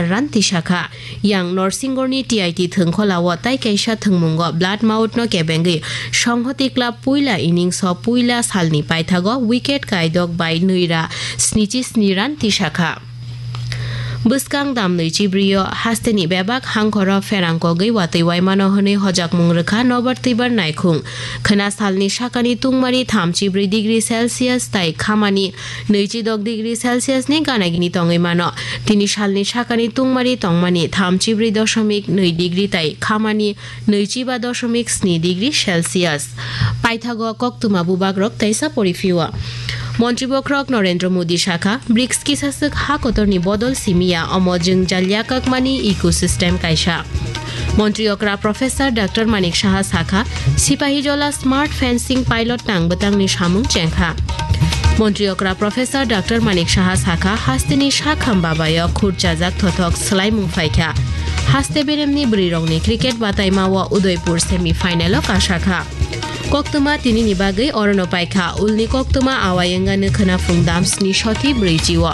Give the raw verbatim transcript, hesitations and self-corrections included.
run tisakha. Yang Norsingorni T I T thwngkholao tai kaisa thwngmungo blood mouth no kebengwi Songhoti club puila innings o puila salni paithago wicket kaidok bai nwi ra snichi sni run tisakha. Bwskang dam nwi chibrio hasteni bebak hangkhoro pherang kogwi watwi waimano hwnwi hojakmung rwkha nobar twibar naikhung. Khwna salni sakani tungmari thamchi brwi degree Celsius tai khamani nwichi dok degree Celsius ni ganagini tongwi mano. Tini salni sakani tungmari tongmani thamchi brwi doshomik nwi degree tai khamani nwichi ba doshomik sni degree Celsius. Paithago koktwma bubagrok teisa poriphio. Montri bokhorok Narendra Modi sakha, brics kisaswk ha kotorni bodol simiya, omo jwngjal yakakmani ecosystem kaisa. Montri okra Professor Doctor Manik Saha sakha, Sipahijola smart fencing pilot tang bwtangni samung chengkha. Montri okra Professor Doctor Manik Saha sakha, hasteni sakham babayo khurchajak thothok swlaimung phaikha. Haste beremni bwrwirokni cricket bataimao Udaipur semi final o kasakha. Koktwma tinini bagwi orono paikha, ulni koktwma awai wngani khwna phung dam sni soti brwichi o.